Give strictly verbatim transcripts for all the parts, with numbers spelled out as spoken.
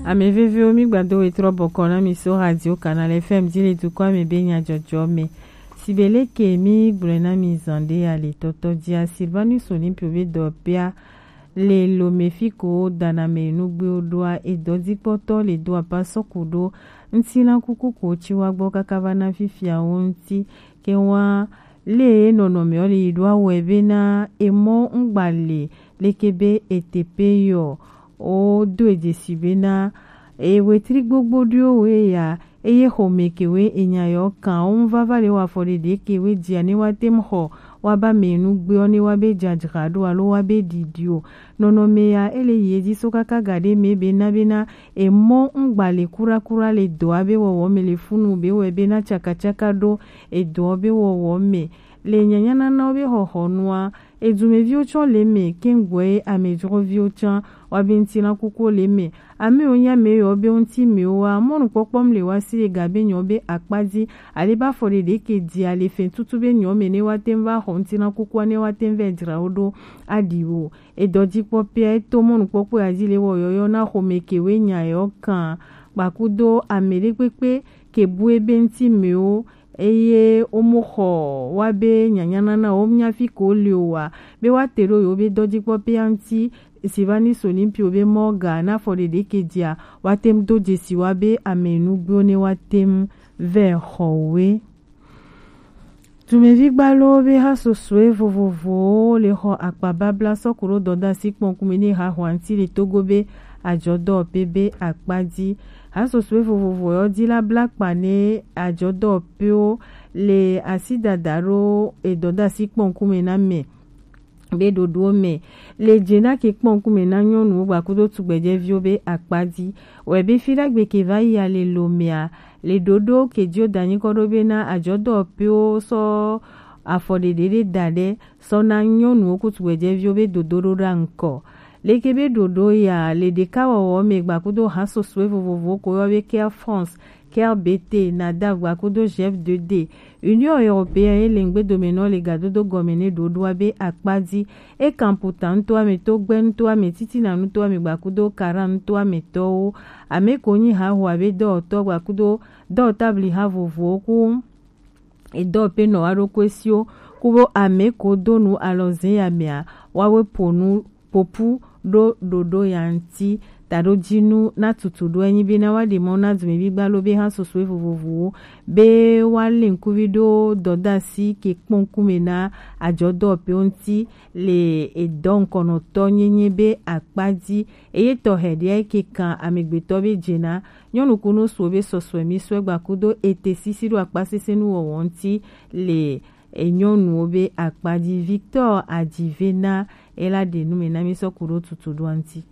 Ame veviwo, mi gbado wetrɔ bɔkɔ na mi so Radio Canal F M ji le dukɔa me be nyajɔjɔ me. Sibeleke mi gblɔe na mi zan ɖe ale tɔtɔ jia Silvanus Olympio be dɔ pea le lo me fi ko dana me nugbewo ɖoa edɔdzikpɔtɔ le do apa sɔku ɖo ŋutilã kuku ko ci wa gbɔ kaka va na fifia wo ŋuti ke wa le nɔnɔme ɔ le yi ɖo awɔe bena emɔ ŋgba le leke be etepe yɔ o do edzesi bena ewetri gbogbo ɖoe wo ya eye xɔme kewe enya yɔ kan o ŋvava le wa fɔ ɖeɖe kewe jia ne wa tem xɔ wa ba me nugbe ɔ ne wa be jajra ɖo alo wa be ɖiɖi o nɔnɔme ya ele yi edzi so kaka ga ɖe me bena bena emɔ ŋgba le kurakura le dɔa be wɔwɔ me le funu be wɛ bena tsakatsaká ɖo edɔa be wɔwɔ me le nyanyananawo be xɔxɔnua. Edumeviwo tsɔ le me kengɔe amedzroviwo tsã wa be ŋutilã kukuwo le me. Amewo nya me yɔ be ŋuti mewo wa mɔnukpɔkpɔm le wa si le ga be nyɔ be akpa dzi ale ba fɔ ɖeɖe ke dzi ale fɛ tutu be nyɔ me ne wa tem va xɔ ŋutilã kukua ne wa tem vɛ dzra wo ɖo aɖi wo. Edɔdzikpɔkpɔa eto mɔnukpɔkpɔ ya dzi le wɔ yɔyɔ na xɔme kewe nya yɔ kan kpakudo ame ɖe kpekpe ke bu ebe ŋuti mewo eye womo xɔ wa be nyanyanana wo nya fi ko le o wa be wa te ɖo yewo be dɔdzikpɔkpɔa ŋuti. Silvanus Olympio be mɔ ga na fɔ ɖeɖe ke dzia wa tem do dzesi wa be ame nugbewo ne wa tem vɛ xɔ we. Dumevi gbalowo be hasosoe vovovowo le xɔ akpa babla sɔku ɖo dɔdasi kpɔnkume ne ha hwanti le Togo be ajɔdɔwɔƒe be akpa dzi. Hasosoe vovovo yɔ dzi la bla kpa ne ajɔdɔwɔƒewo le asi dada ɖo edɔdasi kpɔnkume na me. Be ɖoɖowo me le dze na ke kpɔ ŋkume na nyɔnuwo gbakudo tugbedzɛviwo be akpa dzi. Wɛ be fi ɖagbe ke va yi ale lo mea le ɖoɖo ke dio da nyikɔ ɖo be na ajɔdɔwɔƒewo sɔ afɔɖeɖe ɖe da ɖe sɔ na nyɔnuwo ku tugbedzɛviwo be dodoɖo ɖa ŋkɔ. Leke be ɖoɖo ya le ɖekawɔwɔ me gbakudo hasosoe vovovowo ko yɔ be Care France, Care B T, Nadav gbakudo Jeff deux D. Union Européenne ye le ŋgbedomenɔ le gadodo gɔme ne ɖoɖoa be akpa dzi. E kan puta nutoa me, togbɛ nutoa me, titina nutoa me gbakudo kara nutoa me tɔwo. Ame ko nyi hahoa be dɔwɔtɔ gbakudo dɔwɔtabli ha vovowo ku edɔwɔƒe nɔ wa ɖo kue siwo ku bo ame ko do nu alɔze ya mea wa we po nu popu ɖo ɖoɖo ya ŋuti. Taɖo dzinu na tutu ɖo enyi be na wa ɖe mɔ na dumevi gbalo be ha sosoe vovovowo be wa le ŋkuvi ɖo dɔdasi ke kpɔ ŋkume na ajɔdɔwɔƒewo ŋuti le edɔ ŋkɔnɔtɔ nyenye be akpa dzi. Eye tɔxɛ ɖea ke kan amegbetɔ be dze na nyɔnu kunu suwo be sɔsɔe mi sɔe gbakudo ete sisi ɖo akpa sese nu wɔwɔ ŋuti le enyɔnuwo be akpa dzi. Victor Adivena ela ɖe nu me na mi sɔ ku ɖo tutu ɖoa ŋuti.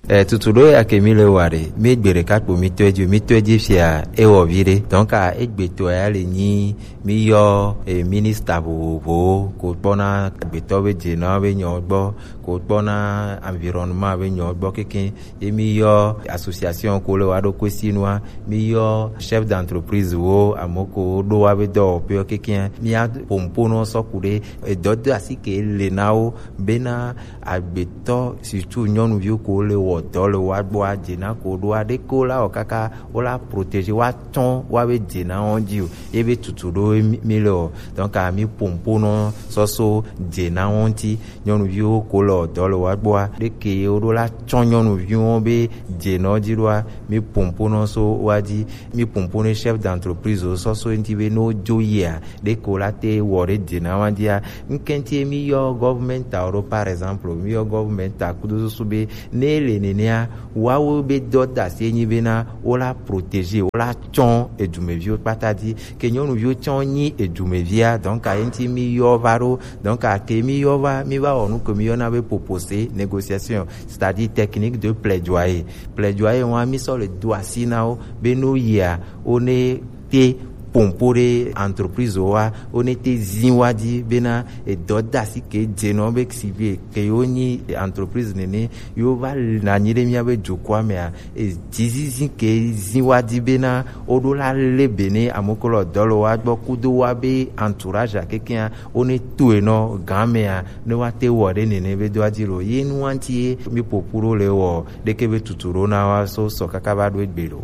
E tutu ɖo ya ke mi le wa ɖe mi gbe ɖeka kpo mi tɔe dzi mi tɔe dzi fia ewɔ vi ɖe donc a egbe tɔ ya le nyi mi yɔ e minista vovovowo ko kpɔna agbetɔ be dze na be nyɔ gbɔ ko kpɔna environnement be nyɔ gbɔ keke ye mi yɔ association ko le wa ɖo kue si nua mi yɔ chef d'entreprise wo ame ko ɖo wa be dɔwɔƒe keke mi a pomponɔ sɔ ku ɖe edɔ do asi ke le na wo bena agbetɔ surtout nyɔnuviwo ko le wɔ dɔ le wa gbɔ a dze na ko ɖo a ɖe ko la wɔ kaka wo la protéger wa tsɔn wa be dze na wɔn dzi o ye be tutu ɖo mi le o donc a mi pomponɔ sɔso dze na wɔn ti nyɔnuviwo ko le wɔ dɔ le wa gbɔ a ɖe ke wo ɖo la tsɔn nyɔnuviwo be dze na wɔn dzi ɖo a mi pomponɔ so wa dzi mi pomponɔ chef d'entreprise wo sɔso ŋti be no dzo yia ɖeko la te wɔ ɖe dze na wa dzia ŋkɛnti mi yɔ government a ɖo par exemple mi yɔ government a kudo susu be ne le nenea wawo be dɔ da se nyi be na wo la protéger wo la tsɔn edumeviwo kpata dzi ke nyɔnuviwo tsɔn nyi edumevia donc a ŋti mi yɔ va ɖo donc a ke mi yɔ va mi va wɔ nu ke mi yɔ na be proposé négociation c'est-à-dire technique de plaidoyer plaidoyer wa mi sɔ le do asi na wo be no yia wo ne te pɔnpo ɖe entreprise wa, wo ne te zin wa di bena edɔ dasi ke dze nɔ be si be ke yo nyi entreprise nene yo va na nyi ɖe mía be dukɔa mea, e dzizizi ke zin wa di bena wo ɖo la le be ne amokolɔ dɔ le wa gbɔ kudo wa be entourage a kekea wo ne to e nɔ gan mea ne wa te wɔ ɖe nene be do adzi lo. Ye nu wa ŋuti ye mi ƒoƒu ɖo le wɔ ɖeke be tutu ɖo na wa so sɔ kaka va ɖo egbe lo.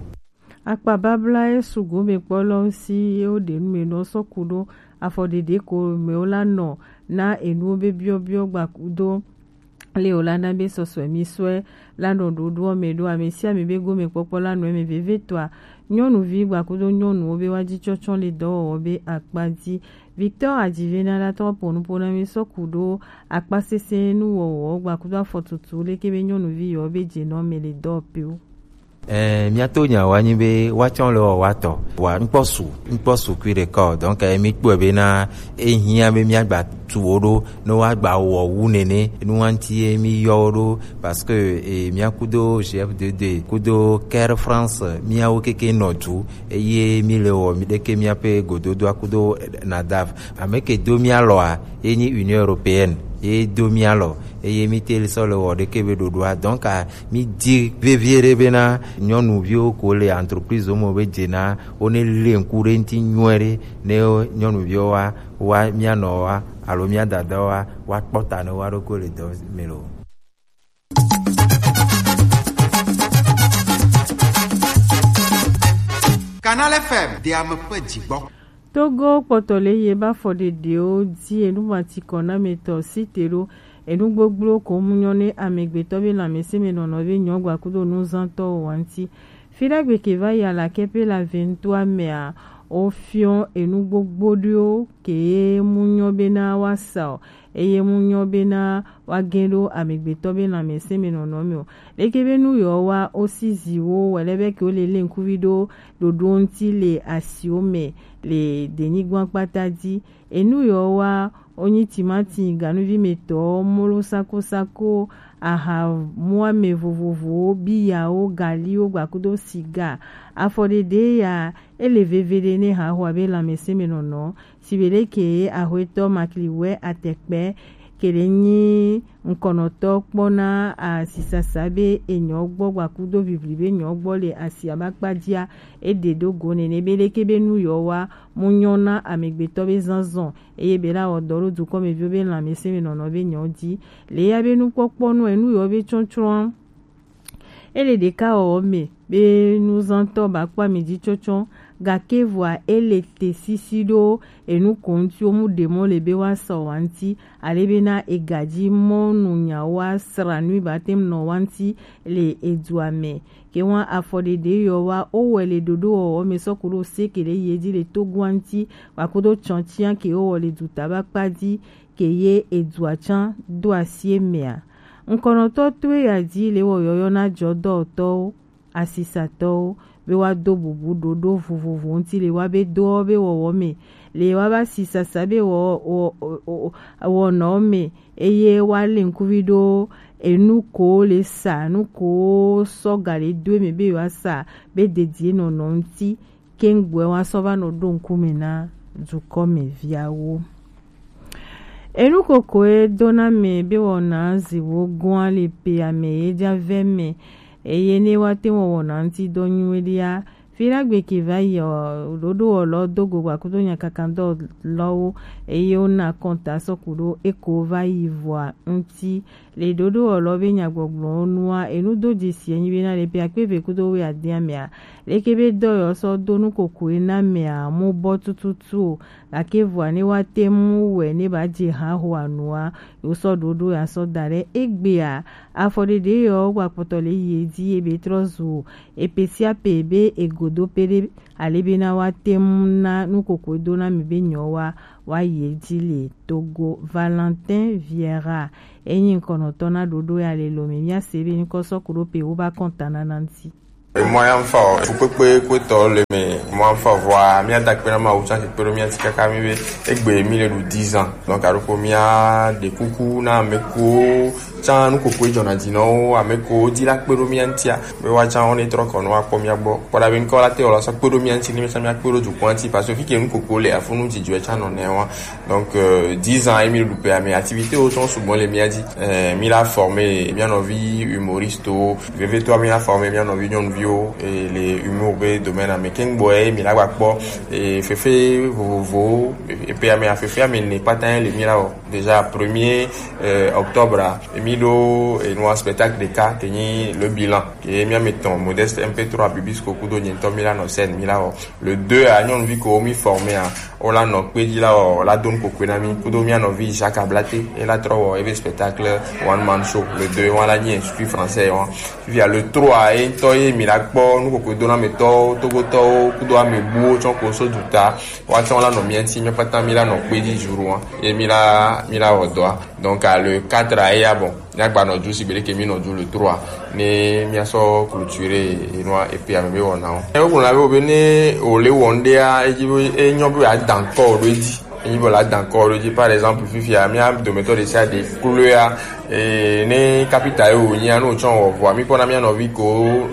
Akpa babla ye sugbɔ be kpɔlɔ si ye wo ɖe nu me nɔ sɔ ku ɖo afɔ ɖeɖe ko me wo la nɔ na enuwo be biɔbiɔ gba do le wo la na be sɔsɔe mi sɔe la nɔ ɖoɖoɔ me ɖo ame sia ame be gome kpɔkpɔ la nɔ eme veve tɔa. Nyɔnuvi gba kudo nyɔnuwo be wa ji tsɔtsɔ le dɔwɔwɔ be akpa dzi. Victor Ajivena la tɔ ponu ponu mi sɔ ku ɖo akpa sese nu wɔwɔ gba kudo afɔtutu leke be nyɔnuvi yɔ be dze nɔ me le dɔ pe wo. Ɛɛ, míato nya wa nyi be woatsɔ le wɔ wa tɔ. Wa ŋkpɔ su, ŋkpɔ su kui ɖeka o. Donc, eh, mi kpɔe be na ehiã be míagba tu wo ɖo, ne woagba wɔ wu nene, nu wa ŋuti ye mi yɔ wo ɖo, parce que, eh, mía kudo G F D D, kudo Care France, míawo keke nɔ du, eye mi le wɔ mi ɖeke míaƒe gododoa kudo NADAF. Ame ke do mía lɔa, ye nyi Union Européenne, ye do mía lɔ, eye mi te sɔ le wɔ ɖeke be ɖoɖoa. Donc, ah, mi di vevie ɖe bena nyɔnuviwo ko le entreprise me be dzena wo ne le ŋku ɖe ŋuti nyuie ɖe ne nyɔnuviwo wa, wa mía nɔ wa alo mía dada wa, wa kpɔ ta ne wa ɖo ko le dɔ me lo. Canal F M, de ame ƒe dzigbɔ. Togo kpɔtɔ le ye ba fɔ ɖeɖewo di enu ma ti kɔ na me tɔ si te ɖo enu gbogbo ko mu nyɔ ne amegbetɔ be lãmesẽ me nɔnɔ be nyɔ gba kudo nuzãtɔ wa ŋuti. Fi ɖagbe ke va yi alakɛ pe la vingt-trois mea, wo fiɔ enu gbogbo ɖewo ke mu nyɔ be na wa sa o, eye mu nyɔ be na wa gẽ ɖo amegbetɔ be lãmesẽ me nɔnɔ me o. Leke be nu yɔ wa wo si ziwo wɛ lɛ be ke wo le le ŋkuvi ɖo ɖoɖo ŋuti le asiwo me le denyigba kpata dzi. Enu yɔ wa wo nyi timati, ganuvi me tɔ, molo sakosako, aha muame vovovowo, biyawo, galiwo, gba kudo siga. Afɔ ɖeɖe ya, ele veve ɖe ne haxoa be lãmesẽ me nɔnɔ. Sibe ɖe ke axwetɔ Makliwɛ Atɛkpɛ ke ɖe nyi ŋkɔnɔtɔ kpɔ na asisasa be enyɔ gbɔ gba kudo vivli be nyɔ gbɔ le asi abakpa dzia, e ɖe ɖo go nene be leke be nu yɔ wa mu nyɔ na amegbetɔ be zazɔn, eye be la wɔ dɔ ɖo dukɔmeviwo be lãmesẽ me nɔnɔ be nyɔ dzi. Le ya be nukpɔkpɔ nu enu yɔ be tsɔtsrɔ̃. Ele ɖeka wɔwɔ me be nuzãtɔ ba kpɔ ame dzi tsɔtsɔ, gake vɔa ele te sisi ɖo enu ko ŋuti wo mu ɖe mɔ le be wa sa wa ŋuti, ale be na egadzi mɔnu nya wa sra nui ba tem nɔ wa ŋuti le edua me. Ke wa afɔ ɖeɖe yɔ wa wo wɛ le ɖoɖo wɔwɔ me sɔ ku ɖo se ke ɖe ye dzi le Togoa ŋuti, wa kudo tsɔtia ke wo wɔ le duta ba kpa dzi, ke ye edua tsã do asi emea. Ŋkɔnɔtɔ toe ya dzi le wɔ yɔyɔ na jɔdɔtɔwo, asisatɔwo, be wa do bubu ɖoɖo vovovo ŋuti le wa be doɔ be wɔwɔ me, le wa ba si sasa be wɔ, wɔ, wɔ, wɔ, wɔnɔ me, eye wa le ŋkuvi ɖo enu ko le sa, nu ko sɔ ga le do me be wa sa be dedie nɔnɔ ŋuti. Kengboe wa sɔ va nɔ ɖo ŋkume na dukɔmeviawo. Enu koko e do na me be wɔna ziwo gɔa le pe ame ye dza vɛ me, eye ne wa te wɔ wɔna ŋuti dɔ nyuie ɖia, fi la gbe ke va yi ɔ, ɖoɖo wɔlɔ do go gba kudo nyakakandɔ lɔwo, eye wona kɔnta sɔ ku ɖo eko va yi vɔa ŋuti. Le ɖoɖo wɔlɔ be nyagbɔgblɔwo nua, enu do dzesi enyi be na le pe akpe eve kudo wuiade mea, leke be dɔyɔ sɔ do nu kokoe na mea mu bɔ tututu o, gake vɔa ne wa te mu wɛ ne ba dze ha ho anua, yo sɔ ɖoɖo ya sɔ da ɖe egbea. Afɔ ɖeɖe yɔ gba kpɔtɔ le yi edzi ebe trɔ zu epe sia pe be egodo pe ɖe ale be na wa te mu na nu kokoe do na mi be nyɔ wa, wa yi edzi le Togo. Valentin Vieira. Enyi ŋkɔnɔtɔ na ɖoɖo ya le lome. Míase be ŋkɔ sɔ ku ɖo pe wo ba kɔnta na na ŋuti. Emɔ ya ŋfa o, fukpekpe kpetɔ le me, emɔ ya ŋfa o, vɔa mía da akpe na Mawu tsã ke kpe ɖo mía ŋuti kaka mí be egbe mí le ɖu dix ans. Donc aɖo ko mía ɖe kuku na ame ko tsã nu koko dzɔna dzi na wo, ame ko di la kpe ɖo mía ŋutia be woatsã wo ne trɔ kɔ nɔ akpɔ mía gbɔ. Kpɔ ɖa be ŋkɔ la te wɔ la sɔ kpe ɖo mía ŋuti ne mía tsã mía kpe ɖo dukɔa ŋuti, parce que fi ke nu koko le afunu dzidzɔe tsã nɔ nɛ wa. Donc euh, dix ans ye mí ɖu pea me activité wo tsã sugbɔ le mía dzi. Euh, mí la former mía nɔvi humoriste wo, vevitɔ mí la former mía nɔvi nyɔnuviwo et le humour be domaine me. Kengbo ye mí la gba kpɔ et fefe vovovowo, et puis ame afefe ame ne kpata le mí la wɔ. Déjà premier euh, octobre a, et mí ɖo et nous spectacle de cas ke nyi le bilan. Et mía me tɔn modeste M P trois Bibisco kudo nyentɔ mí la nɔ scène mí la wɔ. Le deux a nyɔnuvi ko mí former a, wo la nɔ kpe dzi la wɔ, la do nu kokui na mí kudo mía nɔvi Jacques Ablate, e la trɔ wɔ ebe spectacle one man show. Le deux wa la nyi Institut Français wa. Via le trois ye ŋutɔ ye mí la kpɔ nu kokui do na me tɔwo, togotɔwo kudo ame buwo tsɔ ko so duta. Wa tsɔ la nɔ mía ŋuti, mí kpata mí la nɔ kpe dzi jour wa. Ye mí la mí la wɔ dɔa. Donc à le quatre a ya bon. Mía gba nɔ ju si be ɖeke mí nɔ ju le trois ne mía sɔ clôturer enua et puis ame be wɔna o. Ewo gblɔ na be be ne o le wɔn ɖea edzi be enyɔ be a dan kɔ ɖo edzi. Enyi be la dan kɔ ɖo edzi. Par exemple fifia mía dometɔ ɖe sia ɖe kloea eh, ne kapita ye wònyia ne wòtsɔ wɔ vɔa mí kpɔna mía nɔvi ko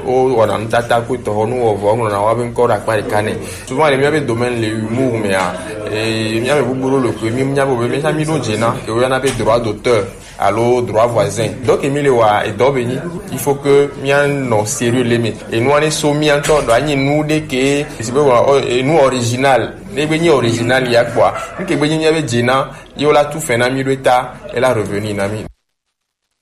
wo wɔna nutata ko tɔxɔ nu wɔ vɔa ŋlɔna wa be ŋkɔ ɖe akpa ɖeka nɛ. Souvent le mía be domaine le humour mea eh, mía me bubu ɖo le koe mí mía be be mía mí ɖo dze na ke woyɔna be droit d'auteur. Alo droit voisin. Donc mi le wa edɔ be nyi. Il faut que mía nɔ sérieux le me. Enua ne so mía ŋutɔ ɖo anyi nu ɖe ke si be wa enu original. Ne be nyi original ya kpɔa, nu ke be nyi mía be dze na ye wo la tu fɛ na mí ɖo eta e la revenu na mí.